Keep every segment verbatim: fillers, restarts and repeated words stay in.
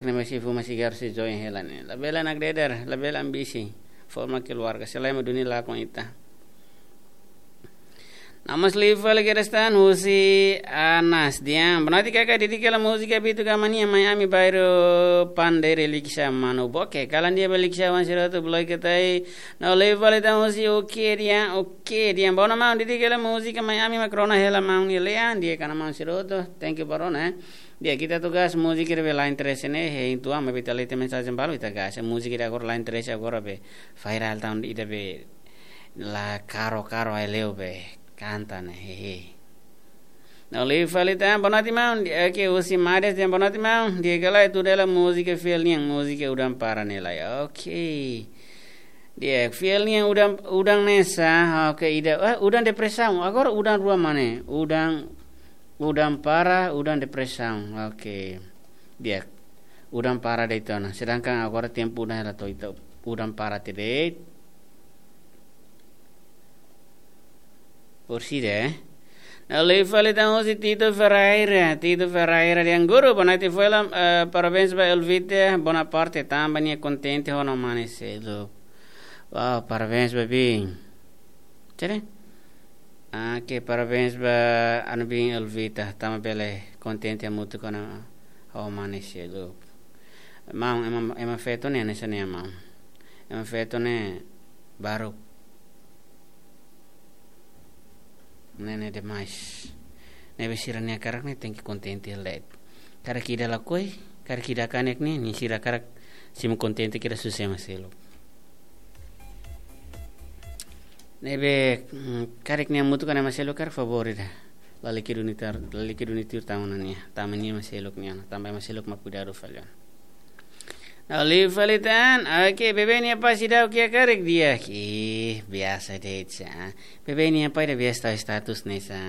ne'e masi fuma sigarru sei join hela ne'e. Labele nakdedar, labele ambisi. Forma keluarga, se lae ema duni lakon ita. Namas liu fali kedas tan husi Anas Dian. Boa noite kaka, dedika hela múzika Bitu Gamania, Mai Ami, bairru Pandere, Likisá, manu. Oke, kalan di'ak ba Likisá, oan sira hotu, bloke tai. No liu fali tan husi Oke Dian, Oke Dian. Boa noite maun, dedika hela múzika Mai Ami, mak rona hela maun nia lean, di'ak ona maun sira hotu. Thank you ba rona, eh. Di'ak, ita tugas múzika ne'ebé la'en interese ne'e, hein tuan, maibé ita lee tiha mensajen balu ita gase. Múzika ida agora la'en interese agora be viral tan, ida be la karo karo ai leu be kanta ne'e, hehe. No liu fali tan, boa noite maun, di'ak, oke, husi Mades dehan boa noite maun, di'ak ka lae, tuda hela múzika fiel nian, múzika Udan Para ne'e lai. Oke. Di'ak, fiel nian udan, udan ne'e sá, oke, ida, eh, udan depresaun, agora udan rua mak ne'e, udan, udan para, udan depresaun, oke. Di'ak, udan para de'it ona, sedangkan agora tempu udan hela to'o ita, udan para tiha de'it. Por si de. No liu fali tan husi Tito Ferreira, Tito Ferreira dehan guru, boa noite, foin hela, eh, parabéns ba Elvita Bonaparte, tanba nia kontente ho ha'u-nia mane seluk. Wow, parabéns ba biin. Tere? Ah, oke, parabéns ba ha'u-nia biin Elvita, tanba bele kontente hamutuk ho ha'u-nia mane seluk. Maun, ema, ema feto ne'e, ne'e sá ne'e maun. Ema feto ne'e baruk. Ne'e, ne'e demais. Ne'ebé sira-nia hakarak ne'e tenke kontente hela de'it. Karik ida lakohi, karik ida kanek ne'e, nia sira hakarak simu kontente kedas husi ema seluk. Ne'ebé, mm, karik nia hamutuk ho ema seluk karik favór ida. Lalika duni tuir, lalika duni tuir tanba nia, tanba nia ema seluk nian, tanba ema seluk mak kuidadu fali ona. No liu fali tan, oke, bebé nia pai seidauk iha karik di'ak. Ih, biasa de'it sá. Bebé nia pai ida biasa tau status ne'e sá.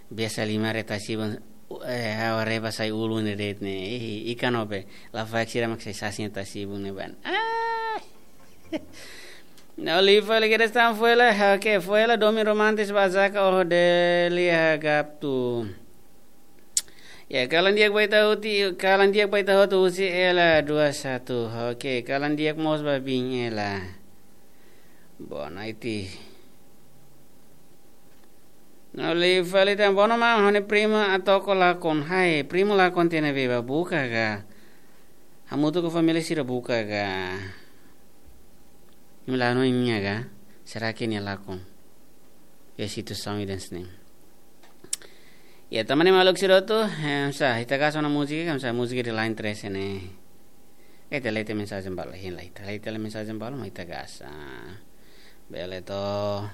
Biasa lima re tasi-ibun, eh, ha'u haree ba sai ulun de'it ne'e. Ih, ikan obe. Lafaek sira mak sai sasin tasi-ibun ne'ebá. Ah! No liu fali kedas tan, foin hela, oke, foin hela domin romantis ba Zaka, oh, Delia Gaptu. Ya, kalan di'ak ba ita hotu, kalan di'ak ba ita hotu husi Ela dua satu. Oke, kalan di'ak mós ba biin Ela. Boa noite. No liu fali tan, boa noite maun, ha'u-nia prima atu ko lakon. Hai, prima lakon tiha ne'ebé ba, buka ka? Hamutuk ho família sira buka ka? Imi la no imi ka? Será que nia lakon? Ya, situasaun ida hanesan ne'e. Ya, tanba ne'e maluk sira hotu, eh, sá, ita gasta ona múzika, kan sá, múzika ida la'en interese ne'e. Ita lee tiha mensajen balu, hein lai, ita lee tiha mensajen balu, mak ita gasta. Bele to.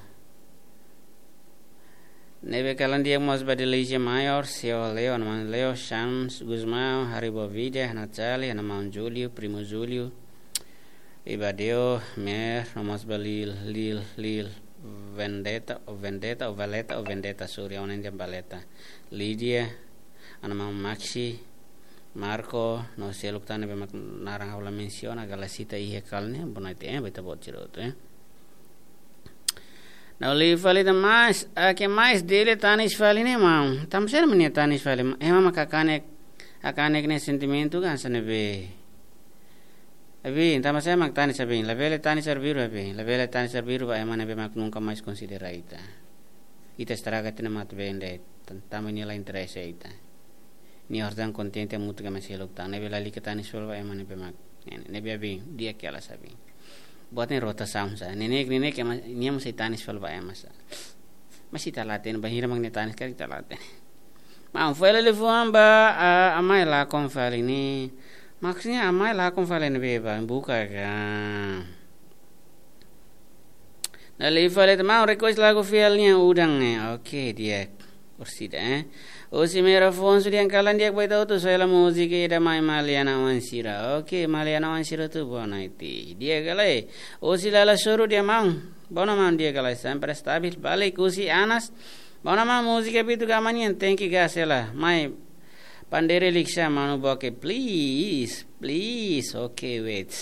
Ne'ebé kalan di'ak mós ba Delícia Maior, Seo Leo, ha'u-nia maun Leo, Shams Gusmão, Haribo Vida, Natali, ha'u-nia maun Júlio, primo Júlio, Ibadeo, Mer, no mós ba Lil, Lil, Lil, Vendetta, ou Vendetta, ou Valeta, ou Vendetta, sorry, ha'u hanoin dehan Valeta. Lídia, ha'u-nia maun Maxi, Marco, no seluk tan ne'ebé mak naran ha'u la mensiona, Galasita iha kalan ne'e, boa noite, eh, ba ita-boot sira hotu, eh. No liu fali tan, mas, ah, ke mais dele tanis fali ne'e maun. Tanba saida mak nia tanis fali, ema mak hakanek, hakanek nia sentimentu kan hanesan ne'ebé. Abi, tanba saida mak tanis abi, labele tanis arbiru abi, labele tanis arbiru ba ema ne'ebé mak nunka mais konsidera ita. Ita estraga tiha ona matan-been de'it, tan-, tanba nia la interese ita. Nia harus dehan kontente hamutuk ho ema seluk tan, ne'ebé lalika tanis fali ba ema ne'ebé mak. Ne'e, ne'ebé abi, di'ak hela sá abi. Buat ne'e rotasaun sá. Neineik, neineik ema, nia mós sei tanis fali ba ema sá. Mas ita la hatene, bainhira mak nia tanis karik ita la hatene. Maun, foin hela liafuan ba, ah, Amai Lakon fali ne'e. Maksudnya Amai Lakon fali ne'ebé ba, buka ka? No liu fali tan, maun, request lagu fiel nian udan ne'e. Oke, di'ak. Orsida, eh. Husi Mero Afonso dehan kalan di'ak ba ita hotu, só hela múzika ida Mai Maliana oan sira. Oke, Maliana oan sira hotu, boa noite. Di'ak ka lae. Husi Lala Soru dehan maun. Boa noite maun, di'ak ka lae, sempre stabil. Balik husi Anas. Boa noite maun, múzika Bitu Gamania tenke gasta hela. Mai Pandere Likisá, manu, boke, please, please. Oke, wait.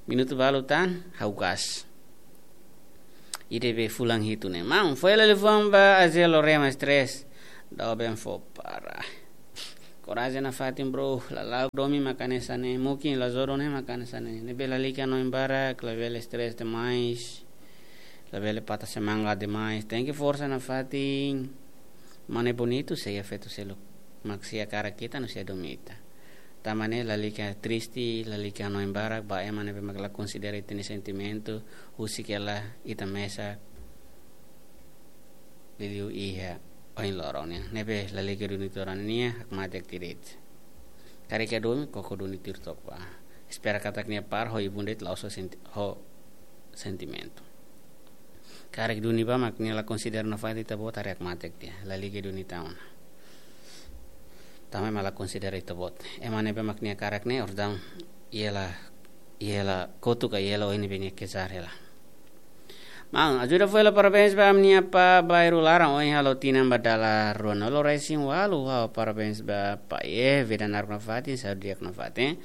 Minutu balu tan, ha'u gasta. Ida be fulan hitu ne'e. Maun, foin hela liafuan ba Azelo Remas tres. Doben fó para. Korajen nafatin, bro. Lala'ok domin maka hanesan ne'e, mungkin la jodoh ne'e maka hanesan ne'e. Ne'ebé lalika hanoin barak, labele stress demais, labele patah semangat demais. Tenke forsa nafatin. Mane bonitu sei iha feto seluk mak sei hakarak ita no sei domin ita. Tanba ne'e lalika triste, lalika hanoin barak ba ema ne'ebé mak la konsidera ita-nia sentimentu, husik hela ita mesak liuliu iha ohin loron nian. Ne'ebé lalika duni to'o rona nia, hakmatek tiha de'it. Karik iha domin, koko duni tuir took bá. Espera katak nia para ho ibun de'it, la'ós ho senti-, ho sentimentu. Karik duni bá mak nia la konsidera nafatin, ita-boot haree hakmatek tiha. Lalika duni tan ona. Tanba ema la konsidera ita-boot. Ema ne'ebé mak nia hakarak ne'e, ordaun, iha hela, iha hela kotuk ka iha hela oin ne'ebé nia kejar hela. Maun, ajuda fo'er hela, parabéns ba ami-nia apá Bairu Laran, ohin halo tinan ba dala ruanulu-resin-ualu, ha'u parabéns ba apá, eh, vida naruk nafatin, saúde di'ak nafatin.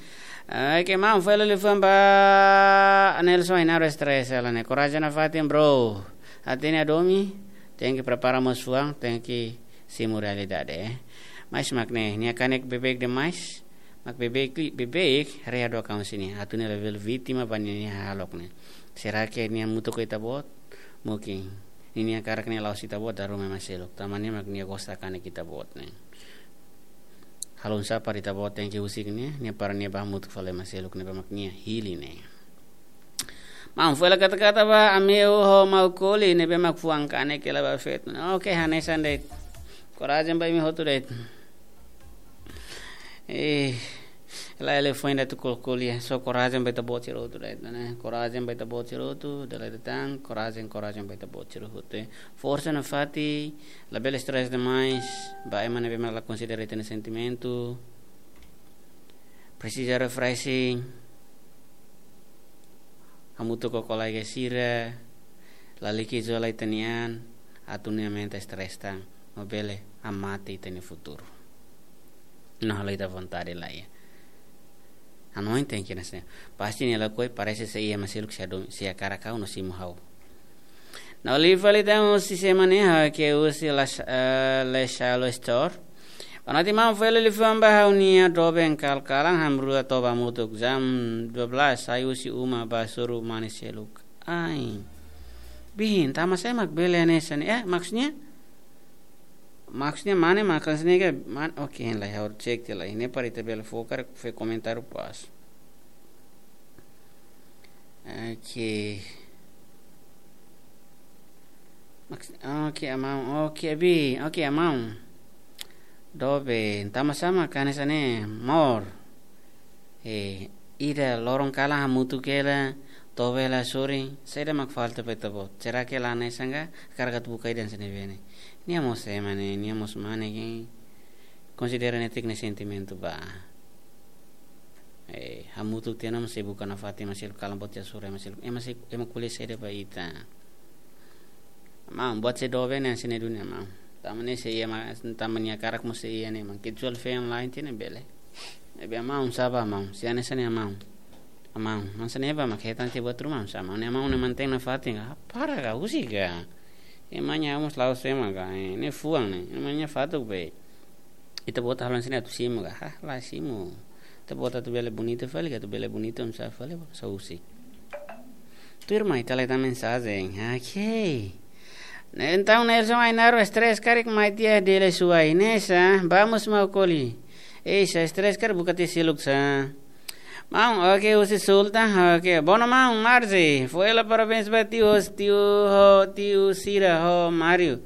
Eh, oke, maun, fo'er hela liafuan ba Nelson Ainaro, stress hela ne'e. Korajen nafatin, bro. Hatene hadomi, tenke prepara mós fuan, tenke simu realidade, eh. Mais mak ne'e, nia kanek beibeik demais, mak beibeik, beibeik, haree hadook an husi nia. Atu nia labele vítima ba ninia hahalok ne'e. Será que nia hamutuk ho ita-boot? Mungkin. Ninia hakarak ne'e la'ós ita-boot, dala ruma ema seluk. Tanba ne'e mak nia gosta kanek ita-boot ne'e. Halo oinsá para ita-boot tenke husik nia, nia para nia bá hamutuk fali ema seluk ne'ebé mak nia hili ne'e. Maun, fo'er hela kata-kata ba Ameu ho Maukoli ne'ebé mak fuan kanek hela ba feto. Oke, hanesan de'it. Korajen ba imi hotu de'it. Eh, la ele foin da tu kol kolia. So korajen ba ita-boot sira hotu de'it, ne'e. Korajen ba ita-boot sira hotu, dala ida tan, korajen, korajen ba ita-boot sira hotu, eh. Forsa nafatin, labele stress demais, ba ema ne'ebé mak la konsidera ita-nia sentimentu. Presiza refreshing. Hamutuk ho kolega sira, lalika izola ita-nia an, atu nia aumenta stress tan, no bele hamate ita-nia futuru. No halo ita vontade laiha. Hanoin tenke hanesan ne'e. Pasti nia lakohi, parese sei iha ema seluk sei adu-, sei hakarak ha'u no simu ha'u. No liafuan ida tan husi ema ne'e, ha'u hakerek husi Las-, eh, Leshalo Store. Boa noite, maun, fo'er hela liafuan ba ha'u-nia doben, kal-kalan hamrua toba hamutuk jam dua belas, sai husi uma bá hasoru mane seluk. Ai. Biin, tanba sá mak bele hanesan ne'e? Eh, maksudnya? Maksudnya mane, maksudnya ke, man-, oke, lai ha'u cek tiha lai. Ne'e para ita bele fó karik fó komentáriu pas. Oke. Maks-, oke, maun. Oke, bi. Oke, maun. Doben, tanba sá mak hanesan ne'e, maun. Eh, ida loron kalan hamutuk hela, toba hela hasoru, saida mak falta ba ita-boot? Será que la hanesan ka, hakarak atu buka ida hanesan ne'ebé ne'e? Nia mós ema ne'e, nia mós mane ke konsidera netik nia sentimentu bá. Eh, hamutuk tiha ona mós sei buka nafatin ema seluk, kalan boot tiha hasoru ema seluk. Ema sei, ema ko'alia saida ba ita? Maun, buat sei doben ne'e hanesan ne'e duni, maun. Tanba ne'e sei iha, maun, tanba nia hakarak mós sei iha ne'e, maun. Kecuali feen lain tiha ne'e bele. Ne'ebé maun, sá bá maun, sei hanesan ne'e maun. Maun, hanesan ne'e bá mak hetan tiha buat ruma, sá maun. Ne'e maun ne'e mantein nafatin ka? Para ka, husik ka. Ema nia mós la'ós ema ka, eh, ne'e fuan ne'e. Ema nia fatuk be. Ita-boot halo hanesan ne'e atu simu ka? Hah, la simu. Ita-boot atu bele bonita fali ka, atu bele bonita oinsá fali, só husik. Tuirmai, ita lai tan mensajen. Oke. Ne'e entaun Nelson Ainaro, stress karik mai tiha dele suai. Ne'e sá, vamos Maukoli. Ei, sá stress karik buka tiha seluk sá. Maun, oke, husi Sultan, oke. Bono maun, Marzi, fo'er hela parabéns ba tiu, tiu ho, tiu sira ho Mário.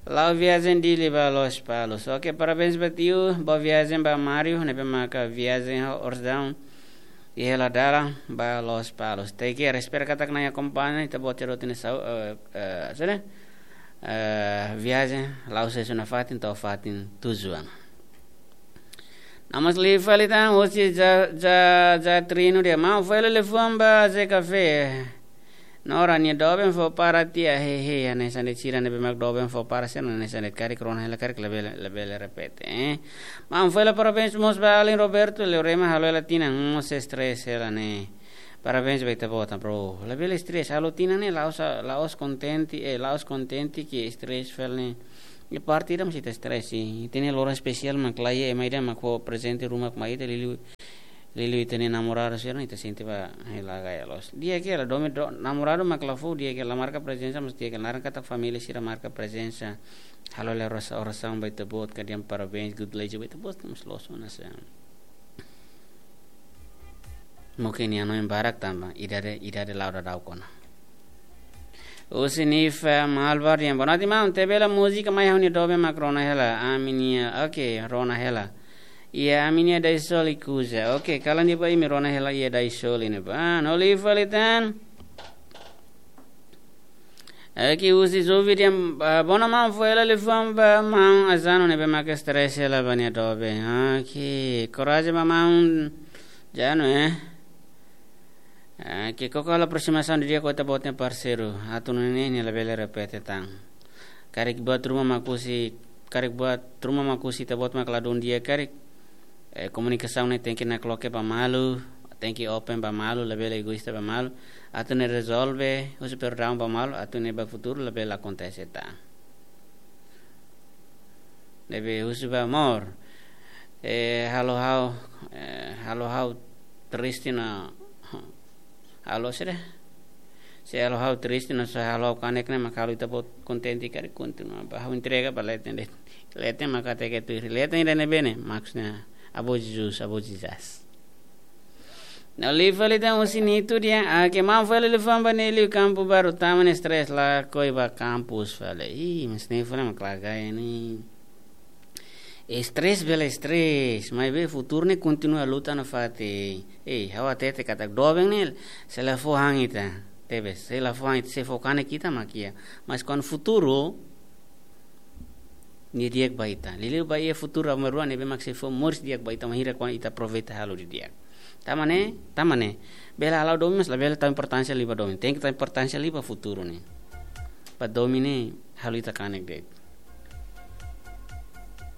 La'o viajen Dili ba Lospalos. Oke, parabéns ba tiu, boa viajen ba Mário, ne'ebé maka viajen ho Orsdown. Iha hela dalan ba Lospalos. Tenke respira katak nia akompaña, ita-boot sira hotu nia saúde, eh, eh, sira, eh, viajen, la'o sesu nafatin, to'o fatin tujuan. Namas li fali tan, husi Ja-, Ja-, Jatrino dehan, maun, fo'er hela liafuan ba Zé Café. Nora, nia doben fó para tiha, he, he, hanesan de'it sira ne'ebé mak doben fó para sira, hanesan de'it karik rona hela karik labele, labele repete, eh. Maun, fo'er hela parabéns mós ba alin Roberto, Leorema halo hela tinan, mós stress hela ne'e. Parabéns ba ita-boot, bro. Labele stress, halo tinan ne'e la'ós, la'ós kontente, eh, la'ós kontente ke stress fali ne'e. Iha parte ida mós ita stress, i ita-nia loron espesiál mak la iha, ema ida mak fó prezente ruma mai ita, liuliu, liuliu ita-nia namoradu sira, ita sente ba, eh, la gaya loos. Di'ak hela, domin do-, namoradu mak la fó, di'ak hela, la marka prezensa, mas di'ak hela, naran katak família sira marka prezensa. Halo hela orasaun, orasaun ba ita-boot, ka dehan parabéns, good luck ba ita-boot, mós loos ona sa. Mungkin nia hanoin barak tanba idade, idade la'o daudaun ona. Husi Nifa Malvar dehan: "Boa noite, maun. Tebela múzika mai ha'u-nia doben mak rona hela. Ami-nia, oke, rona hela. Iha ami-nia Daisol Ikuza. Oke, kalan de'it ba imi, rona hela iha Daisol ne'ebá." Ah, no liu fali tan. Oke, husi Zovi dehan, ah, "Boa noite, maun. Fó hela liafuan ba maun Azano ne'ebé mak stress hela ba nia doben." Oke, korajen ba maun Azano, eh. Ah, ke koko halo aproximasaun didi'ak ho ita-boot nia parseiru. Atu nune'e nia labele repete tan. Karik buat ruma mak husi, karik buat ruma mak husi ita-boot mak ladún di'ak karik. Eh, komunikasaun ne'e tenke nakloke ba malu, tenke open ba malu, labele egoísta ba malu. Atu nune'e rezolve, husu perdaun ba malu, atu nune'e ba futuru labele akontese tan. Ne'ebé husu ba amor. Eh, halo ha'u, eh, halo ha'u triste no, halo sira. Se halo ha'u triste no, se halo ha'u kanek ne'e mak halo ita-boot kontente karik, kontinua ba ha'u entrega ba leten de'it. Leten mak hateke tuir. Leten ida ne'ebé ne'e, maksudnya, Avó Jesus, Avó Jesus. No liu fali tan husi Nitu dehan, ah, ke maun fó hela liafuan ba Nelio Kampu Baru, tama nia stress, lakohi ba kampus fali. Ih, mas ne'e fali mak la gaya ne'e. Stress bele stress, maibé futuru ne'e kontinua luta nafatin. Eh, ha'u hatete katak doben ne'e, se la fó han ita. Tebes, se la fó han ita, se fó kanek ita mak iha. Mas kuandu futuru, nia di'ak ba ita. Liuliu ba iha futuru aban-bainrua ne'ebé mak sei fó moris di'ak ba ita, bainhira kuandu ita aproveita halo didi'ak. Tama ne'e, tama ne'e. Bele halo domin, mas labele tau importánsia liu ba domin. Tenke tau importánsia liu ba futuru ne'e. Ba domin ne'e halo ita kanek de'it.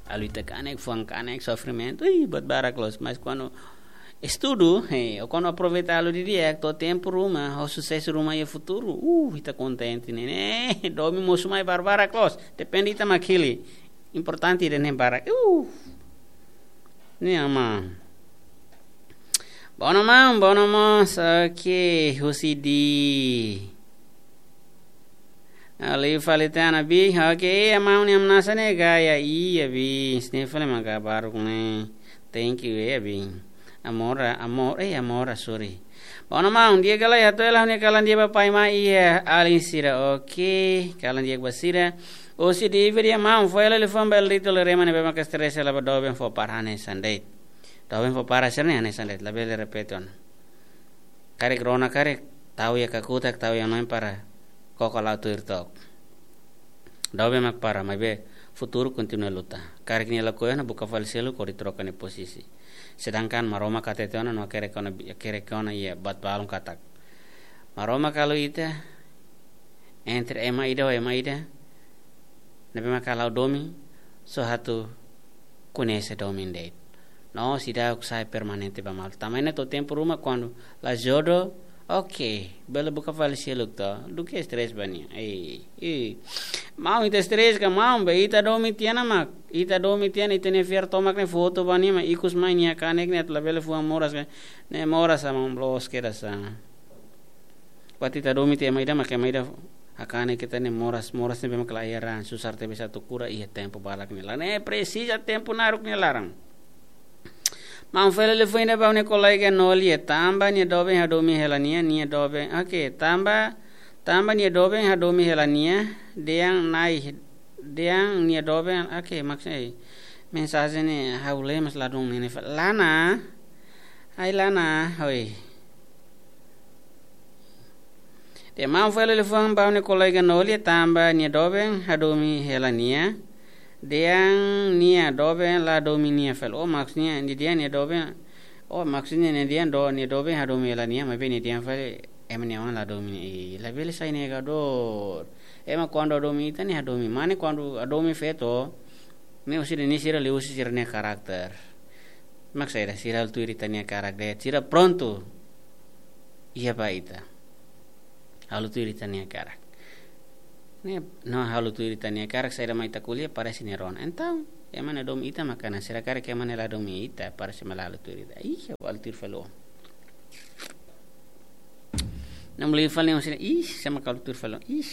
Halo ita kanek, fuan kanek, sofrimentu, ih, buat barak loos. Mas kuandu estudu, eh, ou kuandu aproveita halo didi'ak, to'o tempu ruma, ho susesu ruma iha futuru, uh, ita kontente ne'e. Ne'e, domin mosu mai barbarak loos. Depende ita mak hili. Importante ida-ne'e barak. Uh. Ne'e, maun. Boa noite, maun. Boa noite, maun. Oke, husi Di. Liu fali tan, Abi. Oke, iha maun nia hamnasa ne'e gaya, iha, Abi. Sne fali maka baruk ne'e. Thank you, eh, Abi. Amora, amor, eh, amora, sorry. Boa noite, maun. Di'ak ka lae, hato'o hela ha'u-nia kalan di'ak ba pai, mai iha alin sira. Oke, kalan di'ak ba sira. Husi Di Ivi dehan, maun, fó hela liafuan ba Elito Lerema ne'ebé maka stress hela ba doben fó para hanesan de'it. Doben fó para sira-ne'e hanesan de'it. Labele repete ona. Karik rona karik, tau iha kakutak, tau iha hanoin para koko la'o tuir took. Doben mak para, maibé futuru kontinua luta. Karik nia lakohi ona, buka fali seluk hodi troka nia posisi. Sedangkan Maromak hatete ona no hakerek ona, hakerek ona iha buat balun katak, Maromak halo ita entre ema ida ho ema ida ne'ebé maka halo domin, só atu koñese domin de'it. No seidauk sai permanente ba malu. Tanba ne'e to'o tempu ruma kuandu la jodoh, oke, bele buka fali seluk to, duké stress ba nia. Eh, eh. Maun, ita stress ka maun, be ita domin tiha ona mak, ita domin tiha ona, ita-nia fiar tomak ne'e foto ba nia mak, ikus mai nia kanek ne'e atu labele fuan moras ka, ne'e moras sa maun, loos kedas sa. Buat ita domin tiha ema ida mak ema ida hakanek ita ne'e moras, moras ne'ebé mak la iha raan, susar tebes atu kura, iha tempu balak nia laran. Ne'e presiza tempu naruk nia laran. Maun, fó hela liafuan ida ba ha'u-nia kolega Noli, tanba nia doben hadomi hela nia, nia doben, oke, tanba, tanba nia doben hadomi hela nia, dehan Nai, dehan nia doben, oke, maksudnya, mensajen ne'e ha'u lee mas ladún ne'e, ne'e fali. Lana, ai Lana, oi. Dehan maun, fó hela liafuan ba ha'u-nia kolega Noli, tanba nia doben hadomi hela nia. Dehan nia doben la domin nia fali. Oh, maksudnya nia dehan nia doben. Oh, maksudnya nia dehan do, nia doben hadomi hela nia, maibé nia dehan fali ema nia oan la domin nia. Ih, labele sai negadór. Ema kuandu hadomi ita ne'e hadomi. Mane kuandu hadomi feto, ne'e husi ida-ne'e sira liuhusi sira-nia karakter. Mak saida, sira halo tuir ita-nia karakter. Sira prontu iha ba ita. Halo tuir ita-nia karakter. ne'e, no halo tuir ita-nia karik saida mak ita ko'alia parese nia rona. Entaun, ema ne'e domin ita maka ona, sira karik ema ne'e la domin ita, parese ema la halo tuir ita. Ih, ha'u halo tuir fali. Namlei fali, ih, sama halo tuir fali. Ih.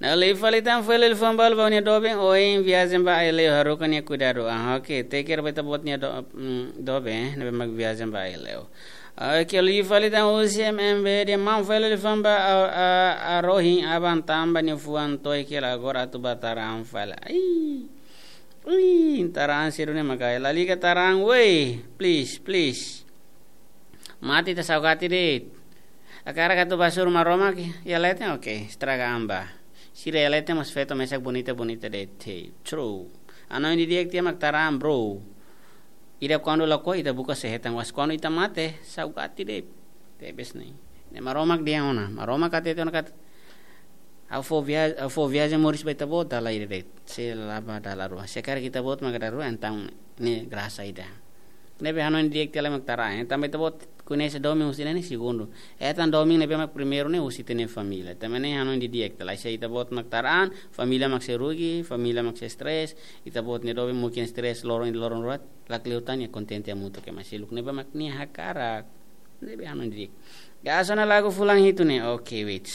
Namlei fali tan, foin lori fa'an balu ba nia doben, ohin viajen ba Aileu, haruka nia kuidadu. Ah, oke, take care ba ita-boot nia do-, mm, doben, eh, ne'ebé mak viajen ba Aileu. Oke, lori fali tan husi M M B dehan maun, foin lori fa'an ba a, a, a rohin aban tanba nia fuan to'o hela agora atu ba Taraan fali. Ai. Ui, Taraan sira-ne'e mak ai. Lalika Taraan, woi, please, please. Mate ita saugati de'it. Hakarak atu ba hasoru Maromak iha leten, oke, estraga an ba. Sira iha leten mós feto mesak bonita-bonita de'it. Hey, true. Hanoin didi'ak tiha mak Taraan, bro. Ida kuandu lakohi ita buka sei hetan, mas kuandu ita mate, saugati de'it. Tebes ne'e. Ne'e Maromak dehan ona, Maromak hatete ona katak ha'u fó via-, ha'u fó viajen moris ba ita-boot dala ida de'it. Sei la ba dala rua. Se karik ita-boot maka dala rua, entaun ne'e grasa ida. Ne'ebé hanoin di'ak tiha lai mak Taraan. Entaun ba ita-boot koñese domin husi ne'e ne'e segundu. Hetan domin ne'ebé mak primeiru ne'e husi ita-nia família. Tanba ne'e hanoin di'ak tiha lai, se ita-boot mak Taraan, família mak sei rugi, família mak sei stress, ita-boot nia doben mungkin stress loron ida loron rua, lakleur tan nia kontente hamutuk ho ema seluk ne'ebé mak nia hakarak. Ne'ebé hanoin di'ak. Gasta ona lagu fulan hitu ne'e. Oke, wait.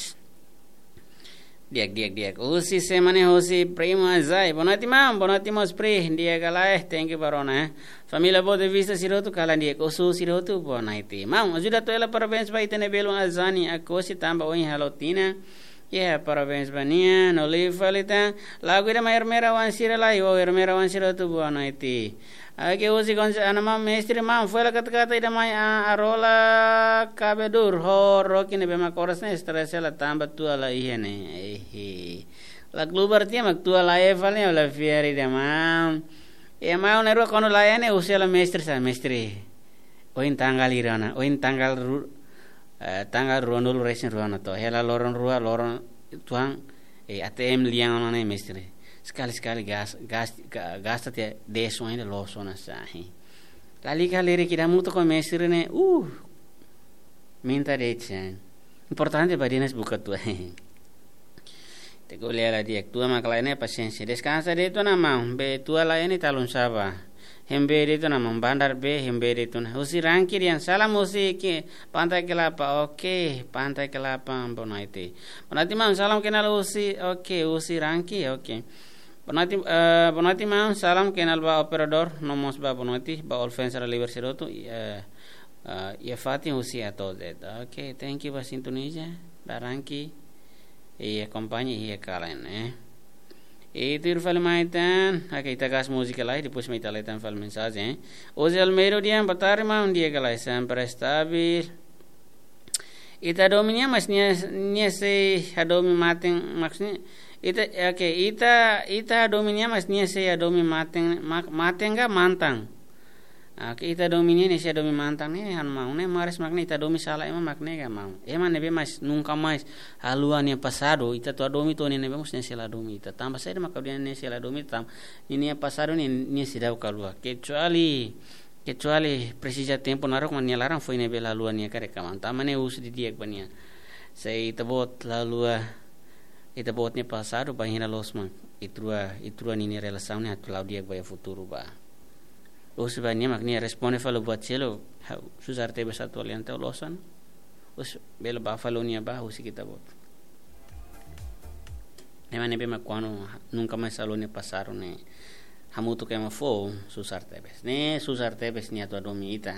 Di'ak, di'ak, di'ak. Husi semana husi primo Azai. Boa noite, maun. Boa noite, mós pri. Di'ak ka lae, thank you ba rona, eh. Família Boa Vista sira hotu kalan di'ak. Oso sira hotu, boa noite. Maun, ajuda atu hela parabéns ba ita-nia belun Azani Akosi tanba ohin halo tinan. Yeah, parabéns ba nia. No lori fali tan. Lagu ida mai Ermera wan sira lai. Wow, Ermera wan sira hotu, boa noite. Oke, husi konse ana maun mestre, maun, foin hela kata-kata ida mai a, Arola Kabedur, ho Roki ne'ebé mak oras ne'e stress hela tanba tua la iha ne'e. Ehe. La klubar tiha mak tua la iha fali, la fiar ida maun. Iha maun ne'e rua kuandu la iha ne'e husi hela mestre sá, mestre. Ohin tanggal hira ona, ohin tanggal ru-, eh, tanggal ruanulu resin rua ona to. Hela loron rua, loron tuan, eh, A T M lian ona ne'e mestre. Sekali-sekali gas-, gas-, ga-, gasta tiha de'it ona, loos ona sá, eh. Lalika lirik ida hamutuk ho mestre ne'e, uh, minta de'it sá. Importante ba dinas buka tua. Te ko lela di'ak, tua mak la iha ne'e pasiénsia. Deskansa de'it ona maun, be tua la iha ne'e talun saba. Hembei de'it ona maun, bandar be, hembei de'it ona. Husi Rangki dehan salam husi ke Pantai Kelapa. Oke, Pantai Kelapa, boa noite. Boa noite maun, salam kenal husi, oke, husi Rangki, oke. Boa noite, eh, boa noite maun, salam kenal ba operadór, no mós ba boa noite, ba all fans sira liber sira hotu, eh, eh, iha fatin husi A to Z. Oke, thank you ba sintonia, ba Rangki. I akompaña iha kalan, eh. I tuir fali mai tan, oke, ita gas múzika lai, depois mai ita lee tan fali mensajen, eh. José Almeida dehan, boa tarde maun, di'ak ka lae, sempre stabil. Ita hadomi nia, mas nia, nia sei hadomi maten, maksudnya, ita, oke, ita, ita hadomi nia, mas nia sei hadomi maten, ma-, maten ka mantan. Oke, ita hadomi nia, nia sei hadomi mantan, ne'e ha'u maun, ne'e mares mak ne'e, ita hadomi sala ema mak ne'e ka maun. Ema ne'ebé mas nunka mais haluha nia pasadu, ita atu hadomi to'o nia ne'ebé mós nia sei la hadomi ita. Tanba saida mak ha'u dehan nia sei la hadomi ita, tanba nia, nia pasadu ne'e, nia seidauk haluha. Kecuali, kecuali presiza tempu naruk mak nia laran foin ne'ebé la haluha nia karik ka maun. Tanba ne'e husu didi'ak ba nia. Se ita-boot la haluha ita-boot nia pasadu, bainhira loos mak ita rua, ita rua ninia relasaun ne'e atu la'o di'ak ba iha futuru ba. Husu ba nia mak nia responde fali buat seluk, ha'u susar tebes atu halo nia, entaun loos ona. Husu bele ba fali nia ba, husi ita-boot. Ema ne'ebé mak kuandu nunka mais haluha nia pasadu ne'e hamutuk ho ema foun, susar tebes. Ne'e susar tebes nia atu hadomi ita.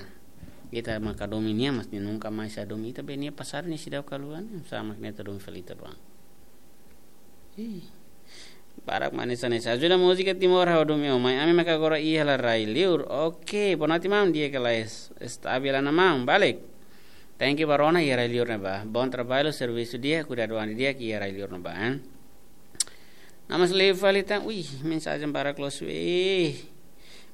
Ita maka hadomi nia, mas nia nunka mais hadomi ita, be nia pasadu nia seidauk haluha, ne'e oinsá mak nia atu hadomi fali ita ba. Ih. Barak mak hanesan ne'e. Ajuda múzika Timor, ha'u hadomi ó mai. Ami maka agora iha rai-liur. Oke, boa noite maun, di'ak ka lae, stabil ona maun, balik. Thank you ba rona iha rai-liur ne'ebá. Bom trabalho, servisu di'ak, kuidadu an di'ak iha rai-liur ne'ebá, eh. Namlei fali tan, ui, mensajen barak loos, ui.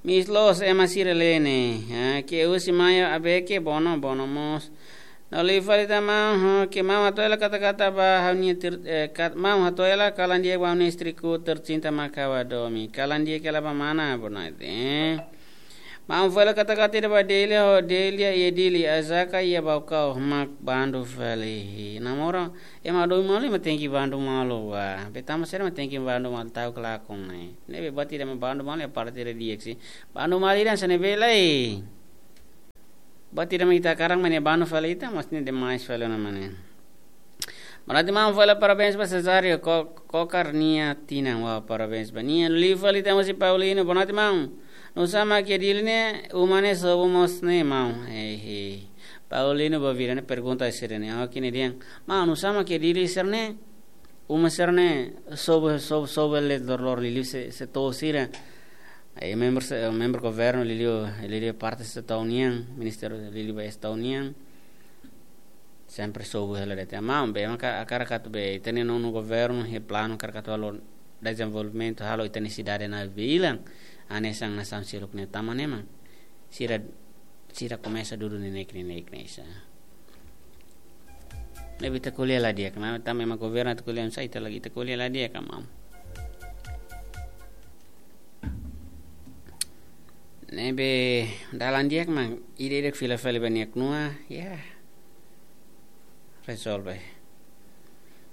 Miss loos, ema sira lee ne'e. Ah, ke husi Maia Abeke, bono, bono mós. Namlei fali tan maun, ho, ke maun hato'o hela kata-kata ba ha'u-nia ter-, eh, kat-, maun hato'o hela kalan di'ak ba ha'u-nia istriku tercinta mak ha'u hadomi. Kalan di'ak hela ba mana, boa noite, eh. Maun fali katak ita ba Delia ho Delia iha Dili, Azaka iha Baucau mak bandu fali. Namora, ema domin malu ema tenke bandu malu ba. Be tanba saida ema tenke bandu malu, tau kelakon ne'e. Ne'ebé buat ida ema bandu malu iha parte ida di'ak sih. Bandu malu ida hanesan ne'ebé lai. Buat ida ema ita hakarak mak ne'e bandu fali ita, mas ne'e demais fali ona mak ne'e. Boa noite, maun. Fali parabéns ba Cesário, ko-, kokar nia tinan, wah, parabéns ba nia. Liu fali ita mós Paulino, boa noite, maun. Nusá mak iha Dili ne'e, uma ne'e sobu mós ne'e, maun. Hei, hei. Paulino, ba vira ne'e pergunta sira-ne'e. Oke, ne'e dehan. Maun, nusá mak iha Dili sira-ne'e, uma sira-ne'e sobu, sobu, sobu hela de'it loroloron, liuliu se-, setór sira. Ai, membru se-, membru governu liuliu, liuliu parte setór nian, ministériu liuliu ba setór nian. Sempre sobu hela de'it. Maun, be, ema hakarak atu be, ita-nia nonu governu, iha planu hakarak atu halo dezenvolvimentu, halo ita-nia sidade na vilan, hanesan nasaun seluk ne'e tama ne'e, maun. Sira, sira komesa dudu neineik, neineik, neineik, sa. Ne'ebé ita ko'alia la di'ak, maun, tanba ema governu atu ko'alia, sa ita lagi ita ko'alia la di'ak, maun. Ne'ebé dalan di'ak mak, ida-idak fila fali ba nia knua, ya. Rezolve.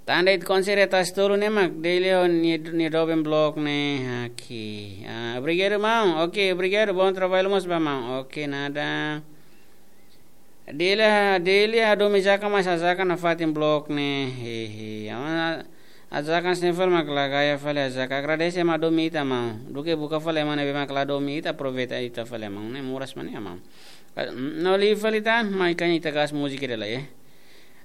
Tan de'it konserta tolu ne'e mak, Delia ho nia, nia doben blok ne'e, oke. Ah, obrigadu, maun. Oke, obrigadu, bom trabalho mós ba maun. Oke, nada. Delia, Delia hadomi Azaka, mas Azaka nafatin blok ne'e. Hehe. Ama, Azaka hanesan ne'e fali mak la gaya fali Azaka. Agradese ema hadomi ita, maun. Duké buka fali ema ne'ebé mak la hadomi ita, aproveita ita fali, maun. Ne'e moras mak ne'e, maun. Ka-, no liu fali tan, mai kan ita gas múzika ida lai, eh.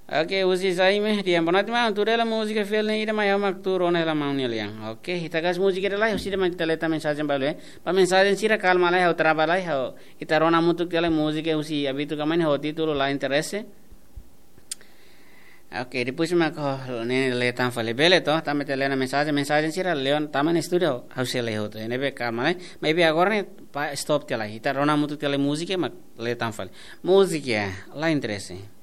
Oke, husi Jaime, dehan boa noite, maun, tuur hela múzika fiel ne'e ida mai ha'u mak tuur ona hela maun nia lian. Oke, ita gas múzika ida lai, husi ida mai ita leta mensajen balu, eh. Ba mensajen sira kalma lai, ha'u trava lai, ha'u ita rona hamutuk tiha lai múzika husi Abitu Kamani ho títulu La Interese. Oke, depois mak ha'u ne'e leta tan fali bele to, tanba ita lee ona mensajen, mensajen sira lee ona tama iha estúdiu, ha'u sei lee hotu. Ne'ebé kalma lai, maybe agora ne'e pa stop tiha lai, ita rona hamutuk tiha lai múzika mak leta tan fali. Múzika, La Interese.